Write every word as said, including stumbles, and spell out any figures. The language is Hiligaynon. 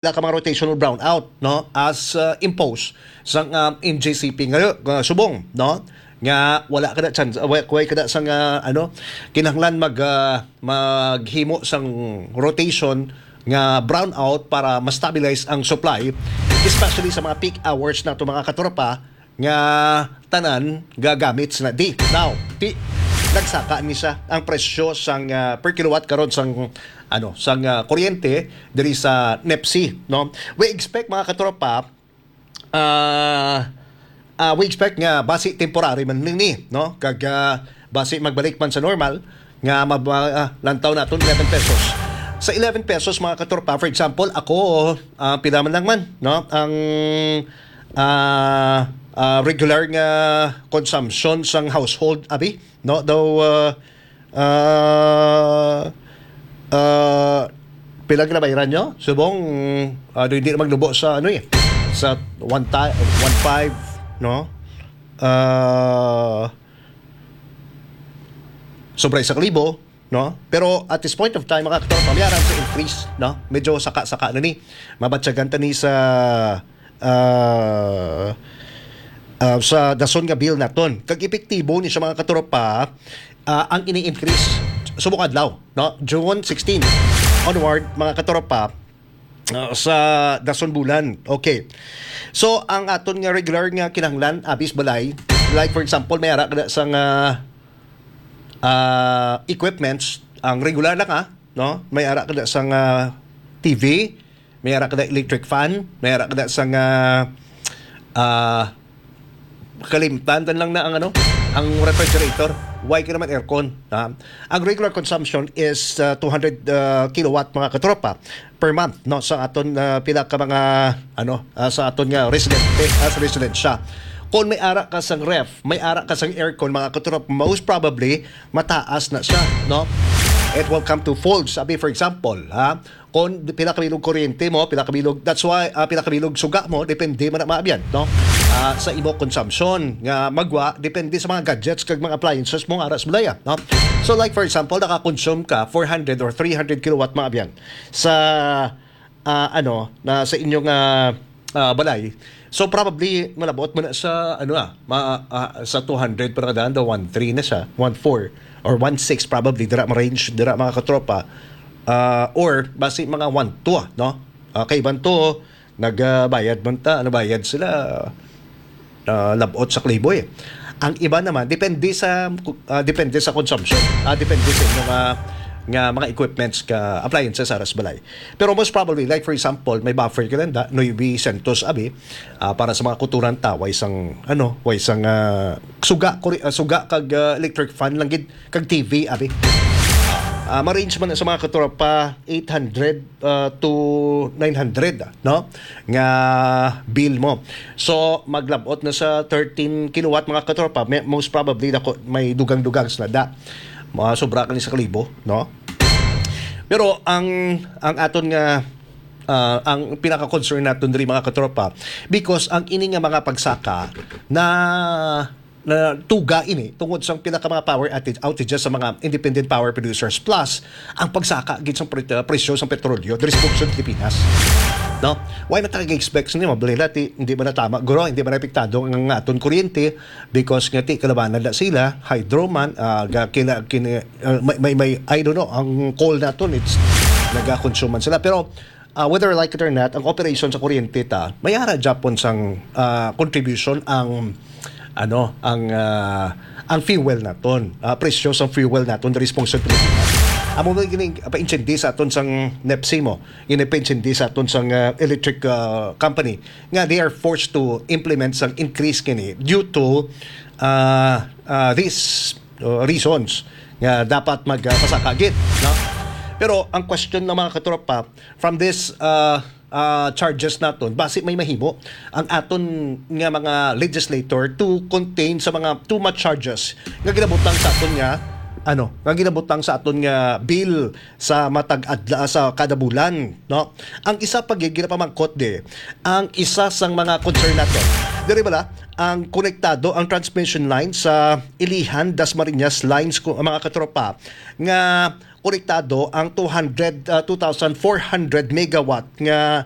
pila ka mga rotational brownout, no, as uh, imposed sang uh, M J C P nga uh, subong, no, nga wala kada chance, uh, wala, wala kada sang uh, ano, kinahanglan mag uh, maghimo sang rotation nga brownout para ma-stabilize ang supply, especially sa mga peak hours nato, mga katropa, nga tanan gagamit sila di. Now, ti nagsaka ni siya ang presyo sang uh, per kilowatt karon sang ano, sang uh, kuryente diri sa NEPC, no? We expect, mga katropa, uh, uh, we expect nga basi temporary man ni, no? Kag uh, basi magbalik man sa normal nga mab- uh, lantaw naton eleven pesos. Sa eleven pesos, mga katropa, for example, ako, uh, pila man lang man, no? Ang uh, uh, regular nga consumption sang household, abi, no? Daw uh, uh, uh, pila ginabayaran nyo? Subong, uh, hindi na maglubo sa ano eh, sa one time, one five, no? Uh, sobra sa kalibo, no? Pero at this point of time, mga katropa, may aram sa increase, no? Medyo saka-saka na ni. Mabatyagan ta ni sa uh, uh, sa dason nga bill naton. Kag epektibo ni siya, mga katropa, uh, ang ini-increase subong adlaw, no? June sixteen onward, mga katropa, uh, sa dason bulan. Okay. So, ang aton nga regular nga kinahanglan, abis balay, like for example, may ara kada sa nga uh, equipments, ang regular lang ha, no? May ara kada sa nga T V, may ara kada electric fan, may ara kada sa nga uh, kalimtan lang na ang ano, ang refrigerator. Why ka naman aircon? Ha? Ang regular consumption is uh, two hundred uh, kilowatt, mga katropa, per month, no, sa aton uh, pila ka mga ano uh, sa aton nga residente as residensya. Kung may ara ka sang ref, may ara ka sang aircon, mga katropa, most probably mataas na siya, no? It will come to fold. Sabi, for example, ha, kung pila ka bilog kuryente mo, pila ka bilog, that's why uh, pila ka bilog suga mo, depende man na maabyan, no? Uh, sa imo consumption nga magwa, depende sa mga gadgets kag mga appliances mo nga ara sa balaya, no? So like for example, naka-consume ka four hundred or three hundred kilowatt maabyan sa uh, ano, na sa inyong uh, uh, balay. So probably malabot mo na sa ano ah, ma, uh, sa two hundred para kadaan daw one three na siya, one four or one six probably dira ma-range dira, mga katropa. Uh, or basi mga one two, no? Uh, kay iban to nagbayad man ta, ano bayad sila? Uh, labot sa kalibo eh. Ang iba naman depende sa uh, depende sa consumption. Uh, depende sa inyong uh, nga mga equipments ka appliances sa balay. Pero most probably, like for example, may buffer ka lang da, nuebe sentos abi, ah, para sa mga kuturan ta, way sang ano, way sang ah, suga kuri, ah, suga kag ah, electric fan lang gid kag T V abi. Ah, ma-range man sa mga katropa eight hundred ah, to nine hundred, no? Nga bill mo. So maglabot na sa thirteen kilowatt, mga katropa, may, most probably dako may dugang-dugang sa da. Mga sobra kani sa kalibo, no? Pero ang ang aton nga ah, ang pinaka-concern naton diri, mga katropa, because ang ini nga mga pagsaka na na tuga ini tungod sa pila ka mga power outage- outages sa mga independent power producers, plus ang pagsaka gid sa pre- uh, presyo sa petrolyo diri sa bugso sa Pilipinas. No? Why man ta expect ni mabalila ti hindi man natama guro, hindi man apektado ang aton kuryente because nga ti kalabanan na sila, hydro man, ah, ga- kila, kini, ah, may, may, may, I don't know, ang coal naton it's nagakonsuman sila. Pero uh, whether like it or not, ang operation sa kuryente ta, may ara Japon sang uh, contribution ang ano, ang uh, ang fuel naton, uh, presyo sang fuel naton diri sa Pilipinas. Amo ba gini paintindi sa aton sang nepsi mo, gini paintindi sa aton sang uh, electric uh, company nga they are forced to implement sang increase kini due to uh, uh, these uh, reasons nga dapat magpasaka gid, no? Pero ang question ng mga katropa, from this uh, uh, charges naton, basi may mahimo ang aton nga mga legislator to contain sa mga too much charges nga ginabutang sa aton nga ano, nga ginabutang sa aton nga bill sa matag adla sa kada bulan, no? Ang isa pa gid ginapamangkot di, ang isa sang mga concern naton. Diri bala ang konektado ang transmission line sa Ilihan, Dasmariñas lines ko mga katropa nga konektado ang two hundred, uh, two thousand four hundred megawatt nga